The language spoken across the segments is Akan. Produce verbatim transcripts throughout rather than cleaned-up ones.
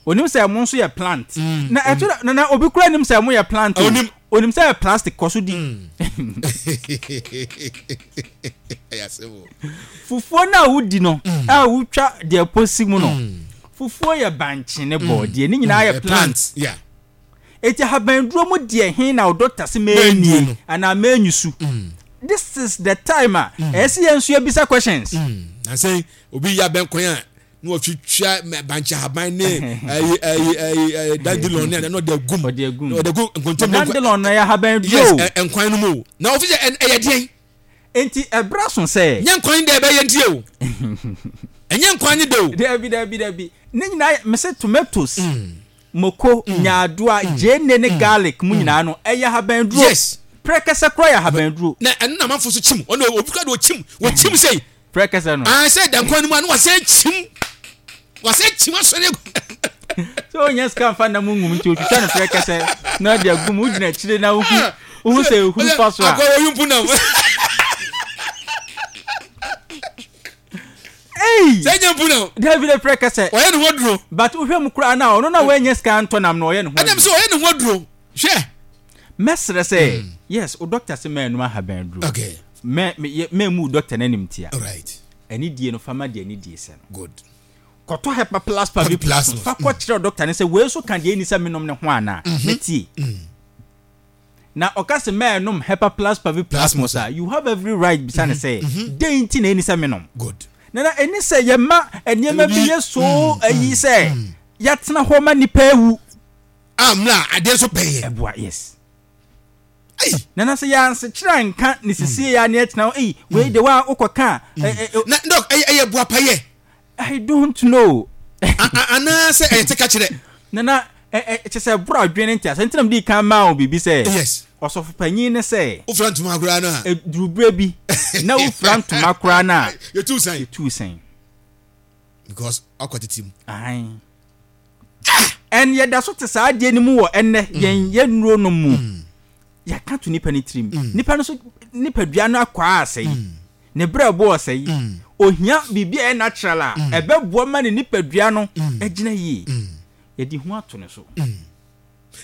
Onim sɛ ɛmo nso yɛ plant. Mm. Na ɛto na na obi kura nim sɛ ɛmo yɛ plant o. Onim onim sɛ yɛ plastic kɔ so di. Mm. Fufuo no a wodi no mm. a wotwa deɛ posi mu no, fufuo yɛ bankye ne bɔɔdeɛ, ne nyinaa yɛ plant. Eti ahabanduro mu deɛ he na wo doctor se mɛnnie anaa mɛnyusu? This is the time a ɛyɛ sɛ yɛn nso yɛbisa questions. Na sɛ obi yɛ abɛnkwan a na wɔtwitwa bankye ahaban ne ɛyi ɛyi ɛyi ɛyi dandelion ne na ɔde agum, ɔde agum, ɔde agu nkontomire. Dandelion na yɛ ahaban duro. Yes, nkwan no mu o, na ofi sɛ ɛyɛ deɛn? Enti ɛbra so sɛ. Nyɛ nkwan dɛ ɛbɛyɛ nti o, ɛnyɛ nkwan ne dɛ o. Dabi, dabi, dabi, ne nyinaa yɛ mese tomatoes, mm. moko, mm. nyaadoa, mm. gyeene ne mm. garlic mu nyinaa no ɛyɛ ahaban duro. Yes. Prɛkɛsɛ kora yɛ ahaban duro. Na ɛno na amanfo so kyim, ɔno obi kora de ɔkyim, wɔkyim sɛ prɛkɛsɛ no. Ah, sɛ da nkwan no mu a na wasɛ kyim, wasɛ kyim asɔre agu. Sɛ ɔnya sika nfa nam ngum nti otwitwa no prɛkɛsɛ na ɔde agu mu, wogyina akyire na wohu wohu sɛ ehuru fa so a. Akɔ wɔyi mpu nam. Ei! Sɛ nya mpu nam. Dabi de, prɛkɛsɛ. Ɔyɛ ne ho aduro. But wohwɛ mu koraa na ɔno na wanya sika ntɔ nam no, ɔyɛ ne ho aduro. Ɛnam sɛ ɔyɛ ne ho aduro. Hwɛ. Mɛsrɛ sɛ, yes, wo doctor se mɛnnom ahaban aduro. Okay. Mɛ mɛ mɛmmu wo doctor no animtia. Alright. Anidie no, fa ma deɛ anidie sɛ no. Good. Kɔtɔ Hepa Plus Pavi Plus no, fa kɔkyerɛ doctor no sɛ wei nso ka deɛ ɛnni sɛ menom no ho anaa. Na tie. Na ɔka sɛ mɛnom Hepa Plus Pavi Plasmos a, you have every right bisa no sɛ, dɛn nti na ɛnni sɛ menom? Good. Nana, ɛnni sɛ yɛma nneɛma bi yɛ so ayi sɛ yɛatena hɔ ma nnipa awu. A mmerɛ a adeɛ nso bɛn yɛn. Ɛboa, yes. Ei! Nana, sɛ yɛansekyerɛ anka ne sisie yɛ a ne yɛtena hɔ, ei, wei de wa wokɔka a. Na dɔk, ɛyɛ ɛyɛ boapayɛ. I don't know. Anaasɛ ɛyɛ teka kyerɛ. Nana, ɛ ɛ kyɛ sɛ ɛboro adwene ne nteaseɛ nti na mede kan maa wo biribi sɛ. Yes. Ɔsɔfo panyin ne sɛ. Wofira ntoma koraa no a. Ɛduru berɛ bi na wofira ntoma koraa no a. Yɛtu sɛn. Yɛtu sɛn. Because ɔkɔ tete mu. Ahan. And yɛda so te saa adeɛ no mu wɔ ɛnnɛ yɛn yɛn nnuro nom mu. Yɛaka to nipa no tirim. Nipa no so nipadua no akwaa asɛe. Ne berɛbo ɔsɛe. Ohia biribi a ɛyɛ natural a ɛbɛboa ma ne nipadua no agyina yie. Yɛde hu ato ne so.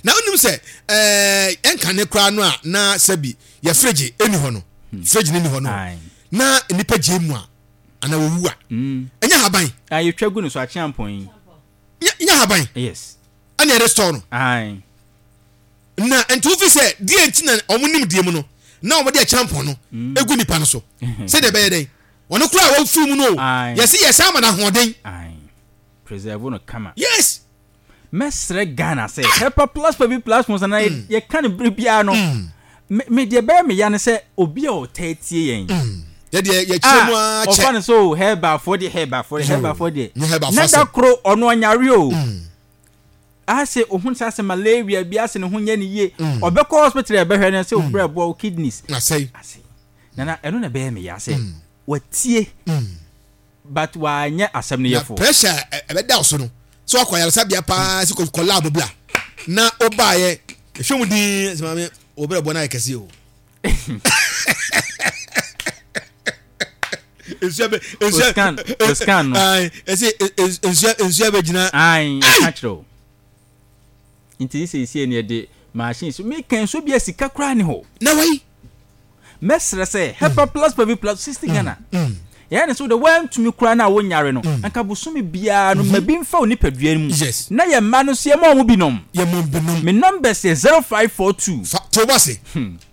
Na wonim sɛ ɛɛ ɛnkane koraa no a na sɛbi yɛ fridge ɛni hɔ no, fridge no ni hɔ no, na nipa gye mu a anaa wɔwu a, ɛnyɛ haban. A yɛtwa gu no so akyeampɔn yi. Nyɛ haban. Yes. Ɛna yɛde store no. Aye. Na nti wofi sɛ deɛ nti na wɔn nim deɛ mu no na wɔde akyeampɔn no mm. egu nipa no so sɛdeɛ ɛbɛyɛ dɛn wɔn koraa a wɔfiri mu no o, yɛsi yɛ san ma no ahoɔden. Aye. Preserve no kama. Yes. Mɛsrɛ Ghana sɛ Hepa Plus Pavi Plus mo sana yɛka no bere biara no, me me deɛ bɛyɛ me ya ne sɛ obi a ɔtaa tie yɛn yɛdeɛ yɛkyerɛ mu ara kyɛ ɔfa no sɛ o herbalfoɔ deɛ, herbalfoɔ deɛ, herbalfoɔ deɛ, nyɛ herbalfoɔ na da asɛm. Koro ɔno ɔnyare o, ase ohun sɛ ase malaria bi ase ne ho nyɛ ne yie, ɔbɛkɔ hospital, ɛbɛhwɛ no sɛ obrɛ boa wo kidneys asɛe ase. Nana, ɛno na ɛbɛyɛ me ya sɛ watie but wanyɛ asɛm no na yɛfo. Pressure a ɛbɛda wo so no sɛ wakɔ ayaresabea paa sɛ kɔ lab bla na wobaeɛ ɛhwɛ mu din sɛ maame wo berɛ bɔ no ayɛ kɛseɛ o, nsua bɛ nsua scan o scan no. Ɛsɛ nsua nsua bɛ gyina. Ayi ɛka kyerɛ o, nti sɛ esie ne yɛde machine so meka nsuo bi a sika koraa ne hɔ. Na wai. Mɛsrɛ sɛ Hepa Plus Pavi Plus sixty Ghana yɛyɛ ne so de woantumi koraa no a wonyare no, anka bosome biara no ma bi mfa wo nipadua no mu. Yes. Na yɛ mma no nso yɛma wɔn bi nom. Yɛ mɔ bi nom. Me numbers yɛ zero five four two. Fa to bo ase,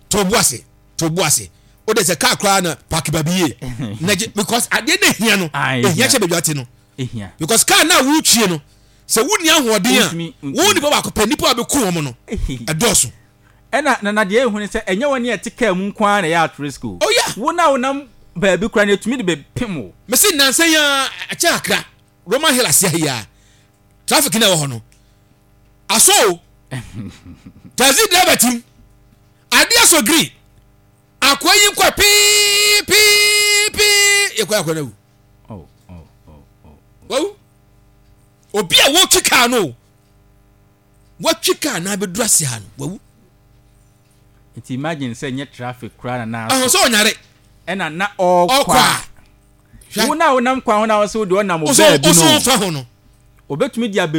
to bo ase, to bo ase. O de sɛ kaa koraa na park baabi yie na gye, because adeɛ na ehia no Ah, ehia ehia. kyɛ baabi ate no ehia because kaa na wotwie no sɛ wonni ahoɔden a Wontumi- wontumi. wo nipa baako pɛ, nipa a bɛku wɔn no ɛdɔɔso. Ɛna na na deɛ ehu ne sɛ ɛnyɛ wɔn a ɛte kaa mu nko ara na ɛyɛ at risk o. Oh, yeah. Wo na wonam baabi koraa na etumi de bɛpem wo. Mesi nansa yi ara ɛkyɛ kakra, Roman Hill ase ha yi ara, traffic na ɛwɔ hɔ no aso o, taxi driver tim adeɛ so green, akoa yi nkɔ pii pii pii, yɛkɔ akɔ na wu. Oh, oh, oh, oh. Wawu. Obi a wɔtwi kaa no o, wɔtwi kaa na abɛduru ase ha no wawu. Nti imagine sɛ nyɛ traffic koraa na na ɔhɔ sɛ ɔnyare ɛna na ɔrekɔ ɔkɔ a a wo na wonam kwan ho na wɔsɛ wode ɔnam wo ɔsɛ baabi ɔsɛ no ɔfa ho no obetumi de abɛnu.